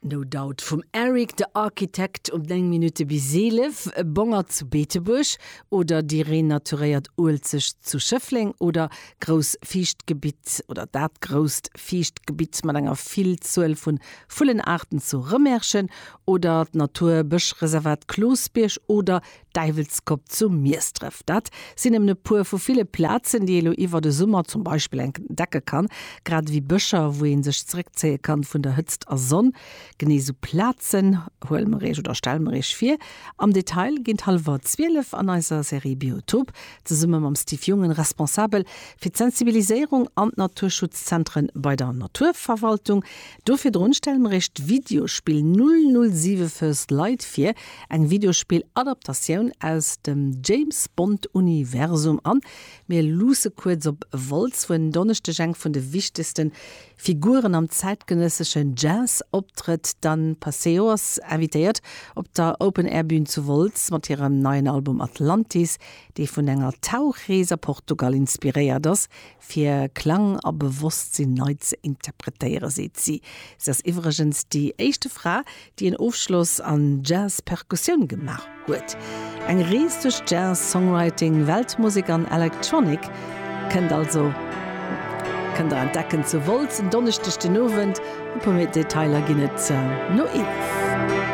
No Doubt vum Eric the Architect um 9 Minutte bis 11, e Bongert zu Beetebuerg oder déi renaturéiert Uelzecht zu Schëffleng oder grouss Fiichtgebitt oder dat grousst Fiichtgebitt mat enger Villzuel vu Vullenaarten zu Rëmerschen oder d'Natur-Bëschreservat Klosbierg oder Däiwelskopp zu Miesdref. Dat sinn nëmmen e puer vu ville Plazen, déi ee lo iwwer de Summer zum Beispill entdecke kann, grad ewéi Bëscher, wou ee sech zeréckzéie kann vun der Hëtzt a Sonn. Genee esou Plazen huele mer iech oder stelle mer iech vir am Detail géint hallwer 12 an eiser Serie Biotop, zesumme mam Steve Jungen, Responsabel fir d'Sensibiliséierung an d'Naturschutzzentren bei der Naturverwaltung. Do virdrun stelle mer iech d'Videospill 007 First Light vir, Eng Videospill-Adaptatioun aus dem James Bond-Universum an mir luusse kuerz op Wolz, wou en Donneschdeg eng vun de wichtegste Figuren am zäitgenësseschen Jazz optrëtt. D'Anne Paceo ass invitéiert op der Open-Air-Bün zu Wolz mat hirem neien Album Atlantis, dee vun enger Tauchrees a Portugal inspiréiert ass. Fir Klang a Bewosstsinn nei ze interpretéieren, seet si. Si ass iwwregens déi éischte Fra, déi en Ofschloss an Jazz-Perkussioun gemaach huet. Eng Rees duerch Jazz, Songwriting, Weltmusek an Electronic kënnt also kënnt der entdecken zu Wolz en Donneschdeg den Owend. E puer méi Detailer ginn et no 11.